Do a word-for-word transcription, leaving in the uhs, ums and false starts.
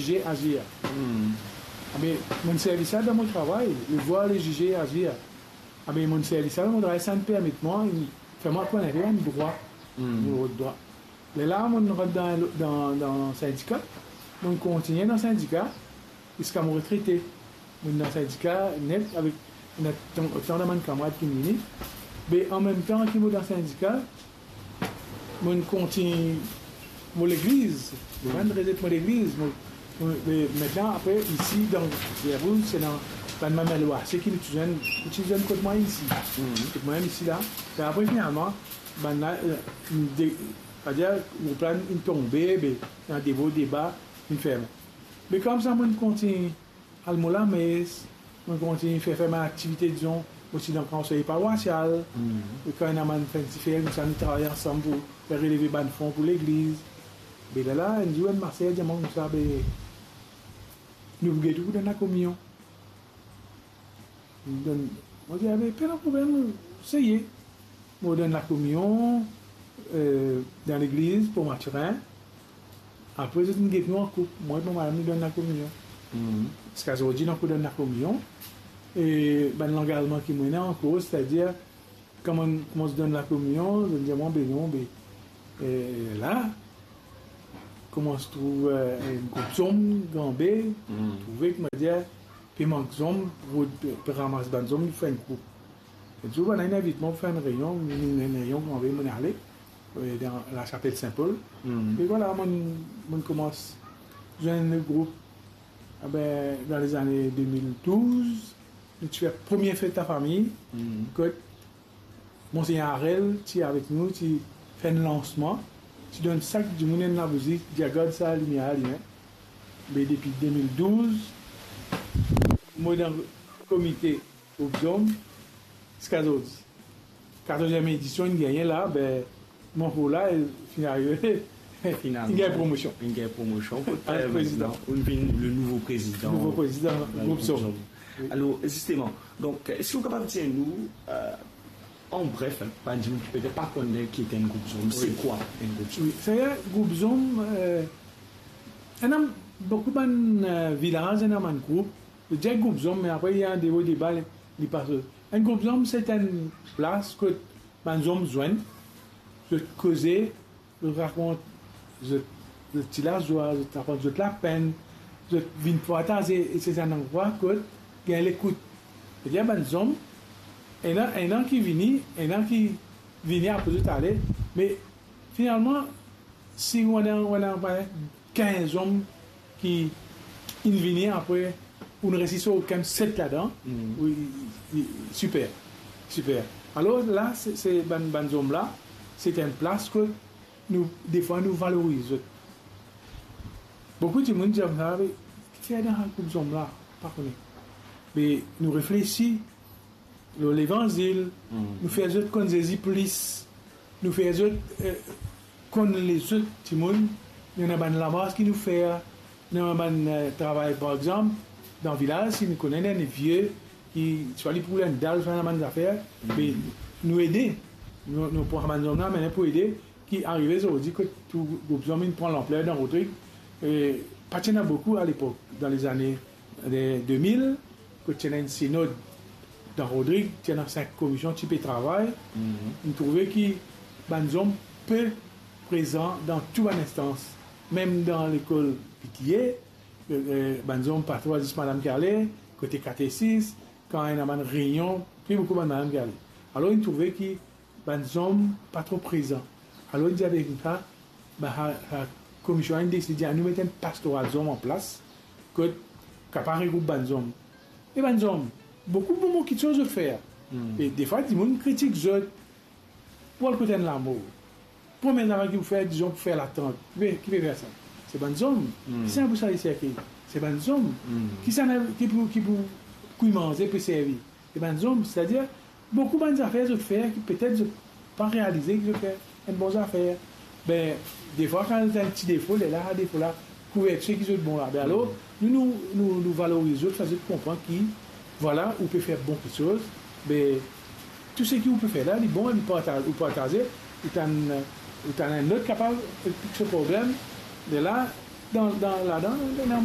juger, agir. Abe, mo'nn servi sa dan mo travay, le voir, le juger, agir. Abe, mo'nn servi sa dan mo travay, sa inn permet mwa, inn fer mwa konn enpe bann drwa mo rod drwa. Lerla mo'nn rant dan, dan, dan sindika, mo'nn kontigne dan sindika ziska mo retrete. Mo'nn dan sindika net avek, ena tan, tan dan bann kamarad ki'nn vini. Me anmemtan ki mo dan sindika, mo'nn kontign mo legliz, mo'nn rezet mo legliz, mo, mo, me, mintnan, apre, isi, dan Rivier Rouge, se dan bann mame lwase ki nou ti zwenn, nou ti zwenn kot mwa isi. Kot mwa isi la. E apre, finalman, bann la, eh, de, savedir, group la inn tonbe, be, ena devo, deba, inn ferme. Me koumsa, mo'nn kontign al mo lames, mo'nn kontign fer, fer bann aktivite, dizon, osi dan konsey parwasial. E kan ena bann finn difer, koumsa nou travay ansam pou fer releve bann fon pou legliz. Be lerla, enn zour, enn maser dir mwa koumsa, be, nou pou get ou pou donn lakominion. Donn, mo dir, "Abe, pena problem, seye." Mo donn lakominion, eh, dan legliz Port Mathurin. Apre, zot inn get nou an koup. Mwa ek mo madam, nou donn lakominion. Ziska zordi, nou ankor donn lakominion. E bann langazman ki mo ena ankor, setadir, kan mo'nn koumans donn lakominion, zot dir mwa, "Be non, be, eh, la, koumans trouv, eh, enn group zom, gran be, trouve ki, mo dir, pe mank zom, pou, pe ramas bann zom, fer enn group." Enn zour, bann la inn invit mwa pou fer enn reynion, enn, enn reynion gran be, mo'nn ale, eh, dan lasapel Sin Pol. E vwala, mo'nn, mo'nn koumans zwenn le group. Abe, dan lezane de mil douz, nou ti fer premie fet lafami, kot Monsegneur Harel ti avek nou, ti fer enn lansman, ti donn sak dimoun enn labouzi, dir, "Gard sa limier la alime." Me depi de mil douz, mo dan komite group zom ziska zordi. Katorzièm edision inn gagne la, be, mo pou la, e finalman, inn gagn promosion. Inn gagn promosion. Kot, eh, prezidan. Ou vinn le nouvo prezidan. Nouvo prezidan, group zom. Wi. Alor, zisteman, donk, eski ou kapav dir nou, eh, an bref, hein, bann dimoun ki petet pa konn ki enn group zom, se kwa enn group zom? Wi, setadir, group zom, eh, ena boukou bann, eh, vilaz, ena bann group, zot dir group zom, me apre, ena devo deba, li, li pa so. Enn group zom, se enn plas kot bann zom zwenn, zot koze, zot rakont zot, zot ti lazwa, zot rakont zot lapenn, zot vinn partaze, e se enn landrwa kot gagn lekout. Setadir bann zom, ena, ena ki vini, ena ki vini apre zot ale, me finalman, si ou ena, ou ena kinz zom ki inn vini apre, ou inn resi sov kiksoz ladan, wi, wi, siper, siper. Alor la, se, se bann, bann zom la, se enn plas kot nou, defwa, nou valoriz zot. Boukou dimoun dir sa, "Me kifer dan group zom la?" Pa kone. Me nou reflesi lor levanzil, nou fer zot konn Zezi plis, nou fer zot, eh, konn lezot dimoun, nou ena bann lamars ki nou fer, nou ena bann, eh, travay, par exanp, dan vilaz, si nou kone enn vie ki, swa li pou enn dal, swa ena bann zafer, me nou ede, nou, nou pran bann zom la, me pou ede, ki arive zordi kot tou group zom inn pran lanpler dan Rodrig, e pa ti ena boukou alepok, dan lezane, eh, de mil, kot ti ena enn sinod dan Rodrig, ti ena sink komision ti pe travay, nou trouve ki bann zom pe prezan dan tou bann instans, mem dan lekol P T A, eh, eh, bann zom pa tro, zis madam ki ale, kote katesis, kan ena bann reynion, pli boukou bann madam ki ale. Alor, nou trouve ki bann zom pa tro prezan. Alor, li dir avek nou sa, ba, sa, sa komision la inn deside dir, "Anou met enn pastoral zom an plas, kot kapav regroup bann zom." E bann zom, boukou bon, bon kiksoz zot fer. E defwa, dimoun kritik zot, pou al kot enn lamor. Premie zafer ki pou fer, dizon, pou fer latant. Be, ki pe fer sa? Se bann zom. Ki sa pou sa servi? Se bann zom. Ki sa ki pou, ki pou kwi manze, pou servi? Se bann zom, setadir, boukou bann zafer zot fer ki petet zot pa realize ki zot fer enn bon zafer. Be, defwa, kan zot ena enn ti defo, lerla, defo la, kouver tou seki zot bon la. Be alor, nou, nou, nou, nou valoriz zot, fer zot konpran ki, vwala, ou pe fer bon kiksoz, be, tou seki ou pe fer la, li bon, li parta-, ou partaze, ou tann, ou tann enn lot kapav explik so problem, lerla, dan, dan, ladan, ena